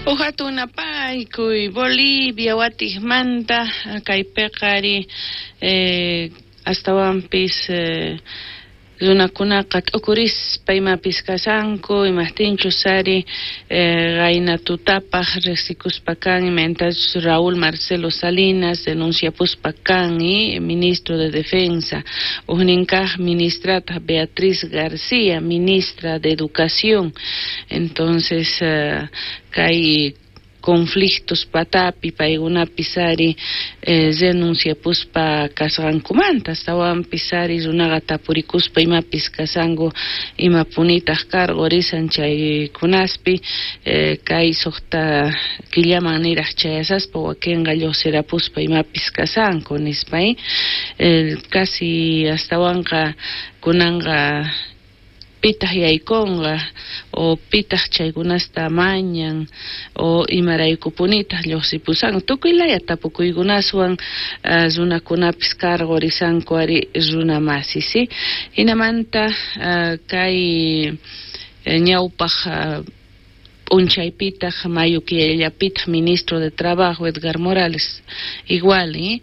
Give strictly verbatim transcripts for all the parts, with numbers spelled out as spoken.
Uhatun napaykuy Bolivia watijmanta kaypiqa ari eh, astawanpis eh, runakunaqa t'ukurispa imapis kasanku imajtinchus ari eh, qayna tutapaj riqsikuspa kan imaynatachus Raúl Marcelo Salinas denunciapuspa kan y ministro de Defensa ujninkaj ministrataq Beatriz García ministra de Educación. Entonces eh, kay conflictos patapi paykunapis ari eh, renunciapuspa kasqankumanta astawanpis ari runaqa tapurikuspa imapis kasanku imapunitaq cargo risan chaykunaspi eh, kay suqta killaman niraq chayasaspa wakinqa lluqsirapuspa imapis kasanku nispa eh, casi astawanqa kunanqa pitaq yaykunqa o pitaq chaykunasta mañan o imaraykupunitaq lluqsipusanku tukuy laya tapukuykunaswan uh, runakunapis cargo risanku ari runa masi si hinamanta uh, kay eh, ñawpaq uh, p'unchaypitaq mayo killallapitaq ministro de Trabajo Edgar Morales igual eh?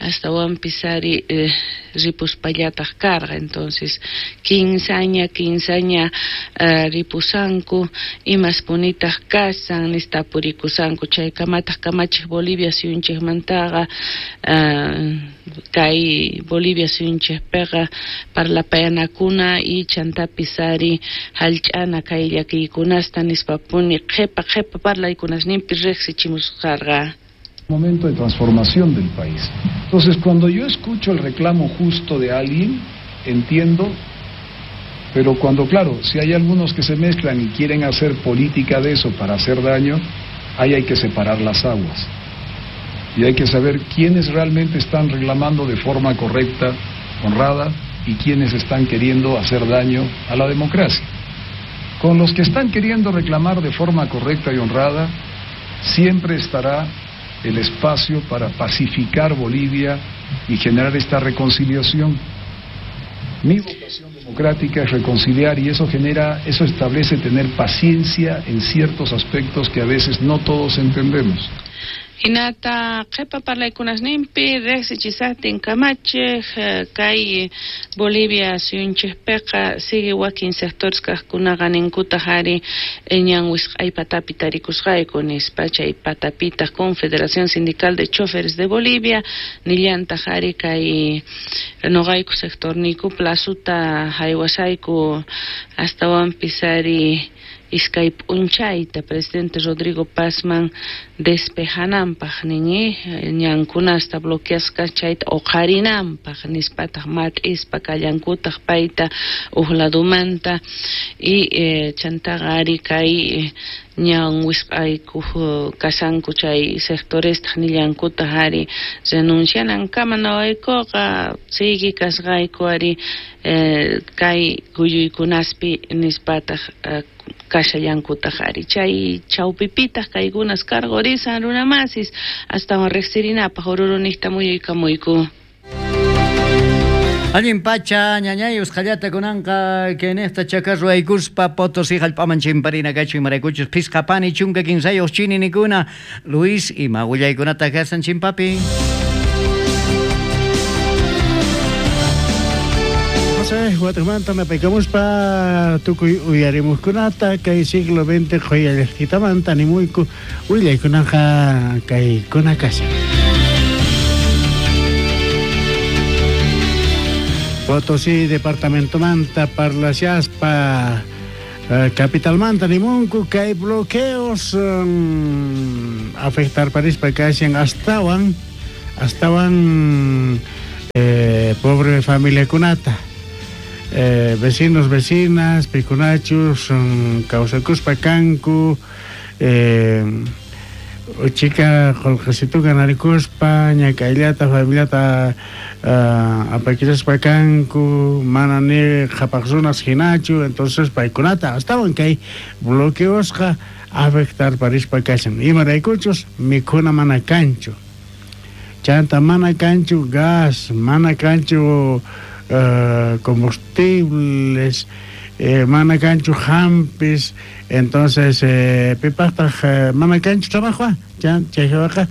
Astawanpis ari eh, ripuspallataq karqa. Entonces kinsaña kinsaña uh, ripusanku imaspunitaq kasan nistapurikusanku chaykamataq kamachiq Bolivia suyunchikmantaqa uh, kay Bolivia suyunchikpiqa parlapayanakuna y chantapis ari hallch'ana kay llakiykunasta nispapuni qhipa qhipa parlaykunasninpi riqsichimusqarqa. Momento de transformación del país. Entonces, cuando yo escucho el reclamo justo de alguien, entiendo, pero cuando, claro, si hay algunos que se mezclan y quieren hacer política de eso para hacer daño, ahí hay que separar las aguas. Y hay que saber quiénes realmente están reclamando de forma correcta, honrada, y quiénes están queriendo hacer daño a la democracia. Con los que están queriendo reclamar de forma correcta y honrada, siempre estará el espacio para pacificar Bolivia y generar esta reconciliación. Mi vocación democrática es reconciliar y eso genera, eso establece tener paciencia en ciertos aspectos que a veces no todos entendemos. Hinata qhipa parlaykunasninpi riqsichisaqtin kamachiq kay Bolivia suyunchikpiqa sigue wakin sectores kaqkunaqa ninkutaq ari ñan wisq'ay patapi tarikusqayku nispa chay patapitaq Confederación Sindical de Choferes de Bolivia nillantaq ari kay noqayku sectorniyku plazuta haywasayku astawanpis ari iskay p'unchayta presidente Rodrigo Pazman despejananpaq nin ñankunasta bloqueasqa chayta uqharinanpaq nispataq mat'ispa kallankutaq payta uq ladumanta y eh, chantaqa ari kay ñan wisq'aykuq kasanku chay sectorestaq nillankutaq ari renuncianankama nawaykuqa sigui kasqayku ari eh, kay kuyuykunaspi nispataq eh, kashallankutaq ari chay chawpipitaq kaykunas cargo risan runamasis astawan riqsirinapaq ururuniqta muyuykamuyku. Allin pacha ñañay usqhallata kunanqa kaynejta chakarruaykuspa Potosí hallp'aman chimparina kachu imaraykuchus phisqa pani chunka kinsayuq chininikuna. Luis, ima willaykunata kasan chimpapi? José, Guatemala me pecamos pa tukuy uyarimuskunata kay siglo veinte qhuyallaqtitamanta nimuyku willaykunaqa kaykuna kashan. Potosí departamentomanta parlashaspa eh, capitalmanta nimunku kay bloqueos um, afectar parispa kashan astawan astawan eh, pobre familiakunata eh, vecinos vecinas pikunachus um, kawsakuspa kanku eh, chica qolqesituka narikuspa ñak'ayllata familiata uh, apakiraspa kanku mana ni qhapaq runas hinachu entonces paykunata astawan kay bloqueosqa afectar parispa kashan imaraykuchus mikhuna mana kanchu chanta mana kanchu gas mana kanchu uh, combustibles eh, mana kanchu hampis, entonces eh, pipaqtaq eh, mana kanchu trabajo, chay hawaqa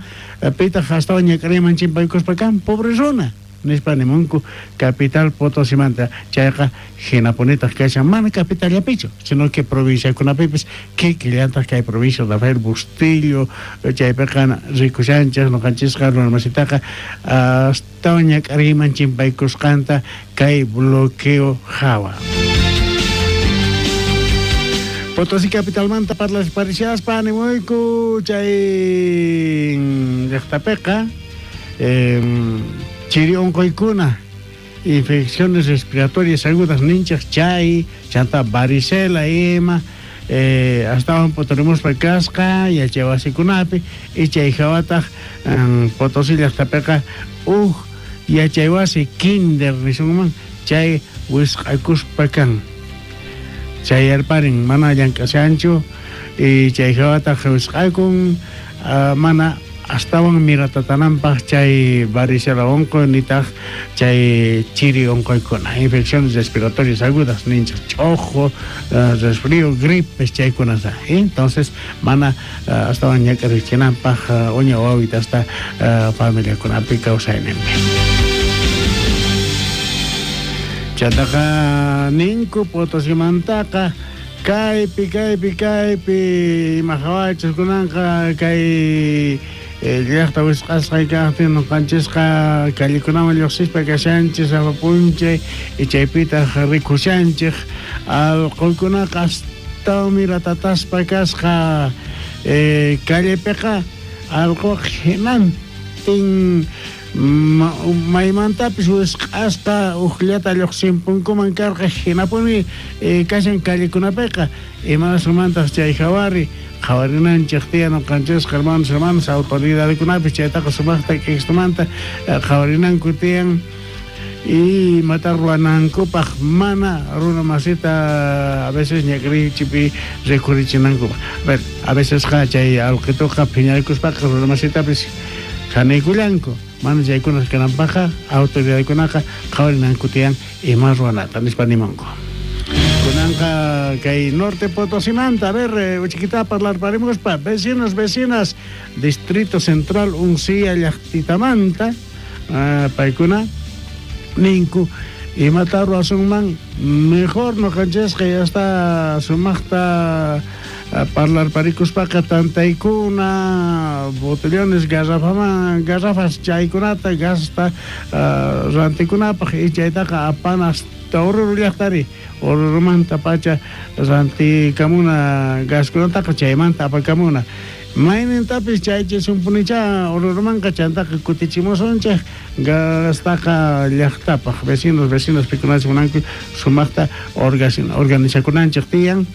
pitaq astawan ñak'ariyman chimpaykuspa kan pobre runa nispa nimunku capital Potosimanta chayqa hinapunitaq kashan mana capitallapichu sino que provinciakunapipis kikillantaq kay provincia Rafael Bustillo chaypiqa rikushanchik ñuqanchisqa runamasitaqa astawan ñak'ariyman chimpaykusqanta kay bloqueo hawa. Potosí capitalmanta parlarishaspa animuyku chay llaqtapiqa eh, chiri onqoykuna infecciones respiratorias agudas ninchaq chay chanta varicela ima eh, astawan poturimuspa kasqa yachaywasikunapi y chay hawataq um, Potosí llaqtapiqa uj yachaywasi kinder nisunman chay wisq'akuspa kan chay yarparin mana llank'ashanchu y chay hawataq wisq'akun uh, mana astawan miratatananpaq chay varicela onqoy nitaq chay chiri onqoykuna infecciones respiratorias agudas ninchaq ch'ojo uh, resfrío gripes chaykunata ¿eh? Entonces mana uh, astawan ñak'arichinanpaq uh, uña wawita hasta uh, familiakunapi kawsayninpi. Chantaqa ninku Potosimantaqa kaypi kaypi kaypi ima hawachus kunanqa kay llaqta wisq'asqa kaqtin ñuqanchisqa callekunaman lluqsispa kashanchis sapa p'unchay y chaypitaq rikushanchik allquykunaqa astawan miratataspa kasqa eh, callepiqa allquqa hinantin maymantapis wisq'asqa ujllata lluqsinpunkuman karqa hinapuni eh, kashan callekunapiqa imanasmantaq chay hawari qhawarinanchik tiyan ñuqanchisqa hermanos hermanas autoridadkunapis chaytaqa sumaqta k'istumanta qhawarinanku tiyan y imata ruwanankupaq mana runa masita a veces ñak'arichipi rikhurichinankupaq. A ver, a veces chay allqituqa phiñarikuspaqa runa masitapis hanaykullanku mana chaykunas kananpaqqa autoridadkunaqa qhawarinanku tiyan ima ruwanata nispa nimunku. Kunanqa kay Norte Potosimanta, a ver, uchiquita parlarparimuspa, vecinos, vecinas, Distrito Central Uncía llaqtitamanta, uh, paykuna ninku imata ruwasunman mejor ñuqanchisqa ya está sumaqta parlarparikuspaqa tantaykuna botellones garrafaman garrafas chaykunata gasta uh, rantikunapaq y chaytaqa apanas Oruro llaqtari Orurumanta pacha rantikamuna gaskunataqa chaymanta apakamuna maynintapis chaychisunpunicha Orurumanqa chantaqa kutichimusunchik gastaqa llaqtapaq vecinos vecinas pikunachik munanku sumaqta organizakunanchik tiyan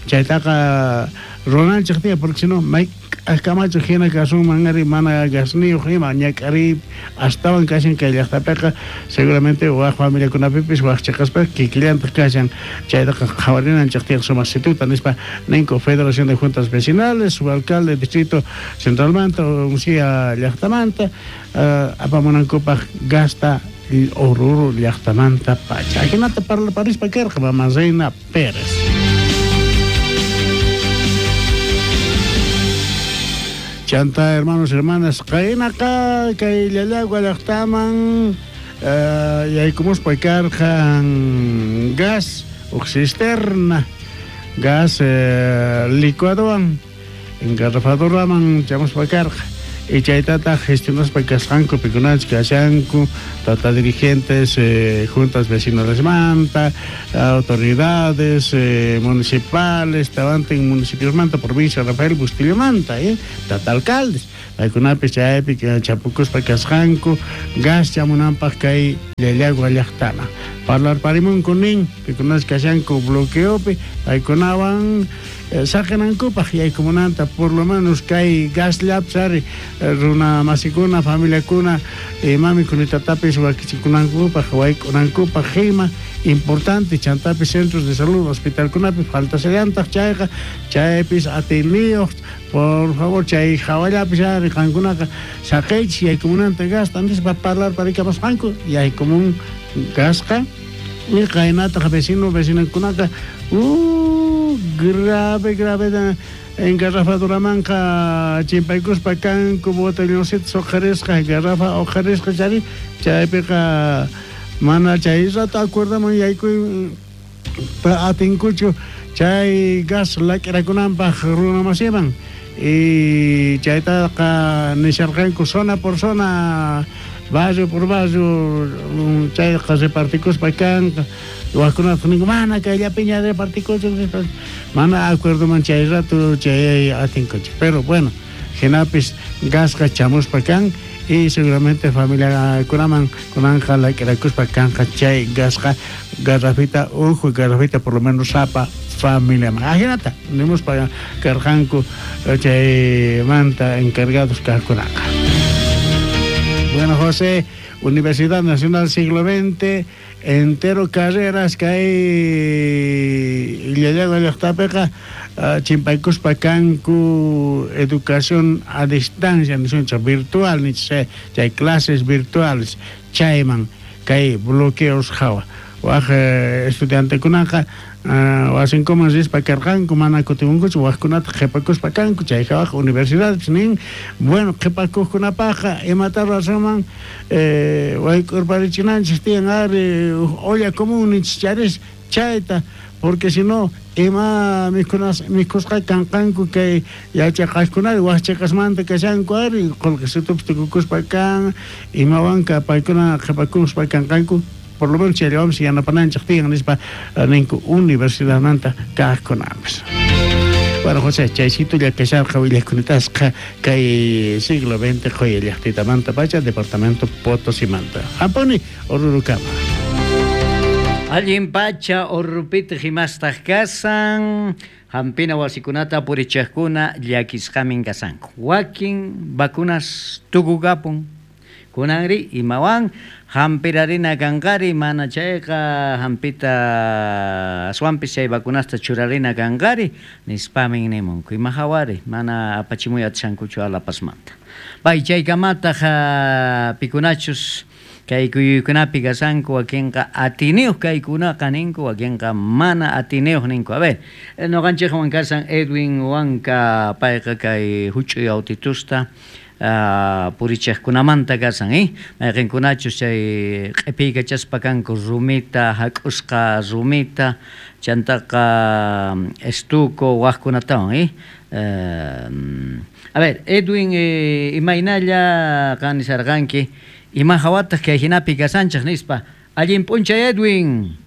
chaytaqa runanchik tiyan porque si no may kamachu hina kasunman ari mana gasniyuq ima ñak'ariy astawan kashan kay llaqtapiqa seguramente waj familiakunapipis waj chiqaspa kikillantaq kashan chaytaqa qhawarinanchik tiyan sumaq situta nispa ninku Federación de Juntas Vecinales su alcalde distrito centralmanta Uncía llaqtamanta uh, apamunankupaq gasta Oruro llaqtamanta pacha ajinata parlaparispa karqa mama Reina Pérez. Chanta, hermanos, hermanas, qaynaqa kay Llallagua llaqtaman uh, yaykumuspa karqan gas uj cisterna gas eh, licuadowan engarrafadoraman chamuspa karqa y chaytataq gestionaspa kasqanku pikunachik kashanku tata dirigentes eh, juntas vecinalesmanta autoridades eh, municipales tawantin municipiosmanta provincia Rafael Bustillo-manta eh, tata alcaldes paykunapis chaypi chapukuspa kasqanku gas chamunanpaq kay Llallagua llaqtama parlarparimunku nin pikunachik kashanku bloqueopi paykunawan saqinankupaq yaykumunanta por lo menos kay gas llapsari runa masikuna familiakuna mamikunitapis wakichikunankupaq wayk'unankupaq ima importante chantapis centros de salud hospitalkunapi faltasallantaq chayqa chaypis atiyniyuq por favor chay hawallapis ari qankunaqa saqiychis yaykumunanta gasta nispa parlarparikamusqanku yaykumun gasqa y qaynataq vecino vecinakunaqa Uh, grave, grave engarrafaduramanqa chimpaykuspa kanku botelloncitos uqharisqa garrafa uqharisqa chari chaypiqa mana chay rato acuerdaman yaykuy atinkuchu chay gas lak'irakunanpaq runa masiman y chaytaqa nisharqanku zona por zona barrio por barrio chayqa repartikuspa kanqa wajkunata ninku mana kayllapiña repartikuchu mana acuerdoman chay rato chay atinkuchu pero bueno hinapis gasqa chamuspa kan y seguramente familiakunaman kunanqa lak'irakuspa kanqa chay gasqa garrafita uju garrafita por lo menos sapa familiaman ajinata nimuspa karqanku chaymanta encargados kaqkunaqa. Bueno, José, Universidad Nacional Siglo veinte, entero carreras que hay llallagua llaqtapiqa chimpaykuspa kanku educación a distancia nisunchik virtual nichik chay clases virtuales chayman kay bloqueos hawa waj estudiantekunaqa wasinkuman rispa karqanku mana kutimunkuchu wajkunata qhipakuspa kanku chay hawaq universidadpis nin bueno qhipakuqkunapaqqa imata ruwasunman eh, wayk'urparichinanchik tiyan ari olla común ninchik charis chayta porque si no ima mikhunas mikhusqa kanqanku kay yachaqaqkunari wajchaqasmanta kashanku ari qullqisitupis tukukuspa kan imawanka paykuna qhipakuspa kanqanku por lo menos chayllawanpis yanapananchik tiyan nispa ninku universidadmanta kaqkunapis. Bueno, José, chaysitulla kasharqa willakunitasqa kay siglo veinte qhuya llaqtitamanta pacha departamento Potosimanta. Hampuni Orurukama. Allin pacha Orurupitaq imastaq kasan hampina wasikunata purichaqkuna llakisqamin kasanku. Wakin vacunas tukukapun. Kunanri imawan hampirarina kanqari mana chayqa hampita aswanpis chay vacunasta churarina kanqari nispamin nimunku ima hawari mana apachimuy atishankuchu Alapasmanta. Pay chaykamataq pikunachus kay kuyuykunapi kasanku wakinqa atiniyuq kaykunaqa ninku wakinqa mana atiniyuq ninku. A ver, noqanchikwan kasan Edwin Huanca payqa kay huch'uy autitusta Uh, purichaqkunamanta kasan, eh? Mayqinkunachus chay q'ipiykachaspa kanku rumita, hak'usqa rumita, chantaqa estuco waqkunatawan, eh? Uh, a ver, Edwin, eh, imaynalla qan nisarqanki, ima hawataq kay hinapi kasanchik nispa. Allin p'unchay, Edwin.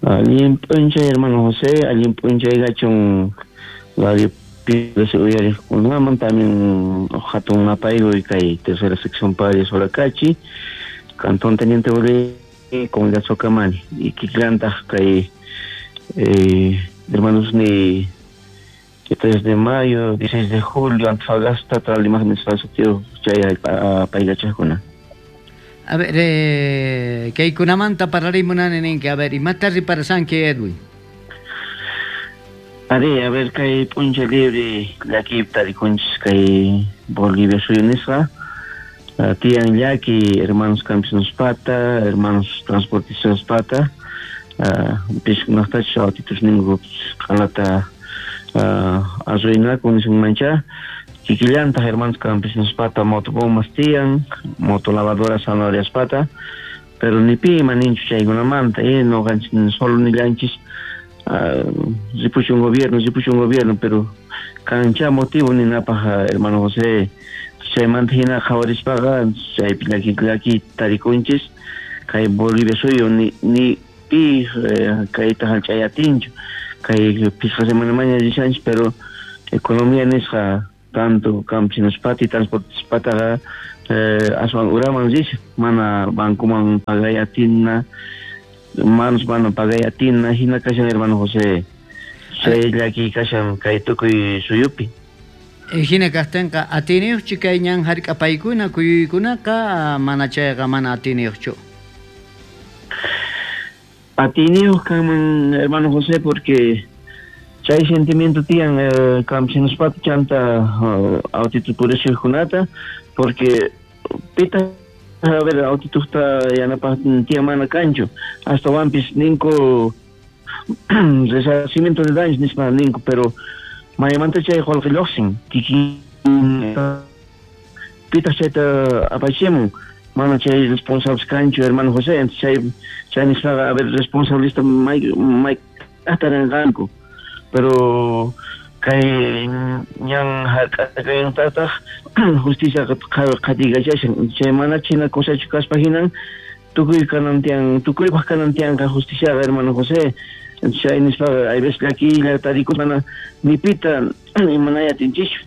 Allin p'unchay, hermano José, allin p'unchay gachun radio uyariqkunaman también hatun napaykuy kay tercera sección Padre Solacachi, Cantón Teniente Bolívar, Comunidad Socamani y kikillantaq kay eh, hermanos ni tres de mayo, dieciséis de julio, Antofagasta, tras la imagen de chay paykachaqkuna. A ver, eh, kaykunamanta parlarimunani ninki, a ver, imata riparasanki, Edwin? Ari, a ver, kay p'unchay libre llakiypi tarikunchis kay Bolivia suyu nisqa tiyan llaki hermanos campesinospata, hermanos transportistaspata, piskunaqtachus autitus ninku q'alata arruinakun nisunmancha kikillantaq hermanos campesinospata motobombas tiyan, motolavadoras zanahoriaspata, pero ni pi ima ninchu chaykunamanta, eh, noqanchis solo nillanchis ripuchu un gobierno, ripuchu un gobierno, pero kancha motivo ninapaq hermano José chaymanta hina qhawarispaqa chaypi llaki llaki tarikunchis kay Bolivia suyu ni ni pi kayta hallch'ayatinchu kay phisqa semanamaña rishanchis pero economía nisqa tanto campesinospata y transportispataqa aswan uraman rishan mana bancoman pagay atina manos mana pagay atina hina kashan hermano José chay llaki kashan kay tukuy suyupi. Hina kaqtinqa atiniyuqchu kay ñan hark'apaykuna kuyuykunaqa mana chayqa mana atiniyuqchu? Atiniyuq kanman hermano José porque chay sentimiento tiyan eh, campesinospata chanta uh, autitu purishqkunata porque pita a ver autituqta yanapaqtin tiyan mana kanchu astawanpis ninku Resarcimiento de daños nispa ninku, pero maymanta chay qolqe lloqsin, kikin pitaq chayta apachimun, mana chay responsables kanchu, hermano José, entonces chay chay nispaqa, a ver, responsabilista may may k'ataranqanku, pero kay ñan hark'akaynintataq justicia qhatikachashan, chay mana china cosachu kaspa hinan tukuy kanan tiyan, tukuypaq kanan tiyanqa justiciaqa, hermano José. Chay nispaqa hay veces llakiylla tarikus mana ni pita imanaya atinchikchu,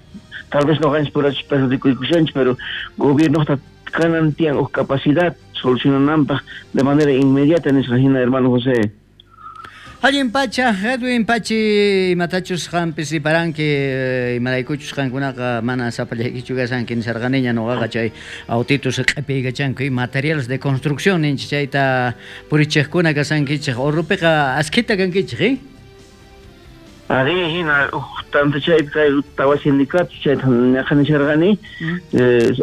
tal vez noqanchis purachis perjudicuykushanchis, pero gobiernoqta kanan tiyan uj capacidad solucionananpaq de manera inmediata nisqa hina, hermano José. Allin pacha, Edwin Pachi, imatachus qampis riparanki, imaraykuchus qankunaqa mana sapallaykichu kashanki nisarqaniña noqaqa chay autitos q'epiykachanku y materiales de construcción ninchik chayta purichiqkuna kasankichik Orrupiqa askhita kankichik, eh? Ari hina uj tanta chaypi kay tawa sindicato chayta ñaqa nisharqani,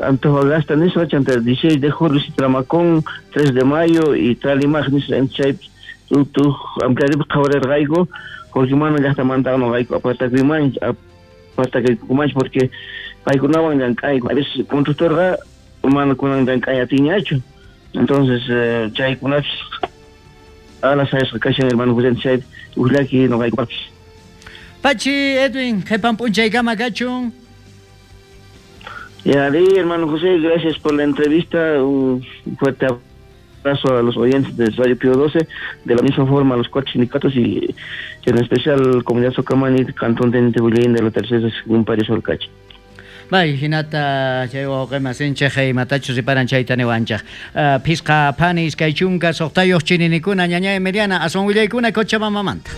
Antofagasta nisqa chanta dieciséis de julio Tramacón, tres de mayo y Tralimaj nisqa chaypi tuj ampliaripaq qhawarirqayku porque mana llaqtamanta noqayku apartakuymanchu apartakuykumanchu porque paykunawan llank'ayku, a veces constructorqa mana kunan llank'ay atinñachu, entonces chaykunapis ala sayasqa kashan, hermano José, chaypi uj llaki noqaykupaqpis. Pachi, Edwin, qhipan p'unchaykama kachun. Y ari, hermano José, gracias por la entrevista, un fuerte abrazo a los oyentes de Radio Pío doce, de la misma forma a los cuatro sindicatos y en especial Comunidad Socamani, Cantón Teniente Bullín de la Tercera Según Paris Olcachi. Bay, hinata chay wawqimasinchik imatachus riparan chayta niwanchik. Phisqa phani iskay chunka suqtayuq chininikuna ñañay Emiliana aswan willaykuna Cochabambamanta.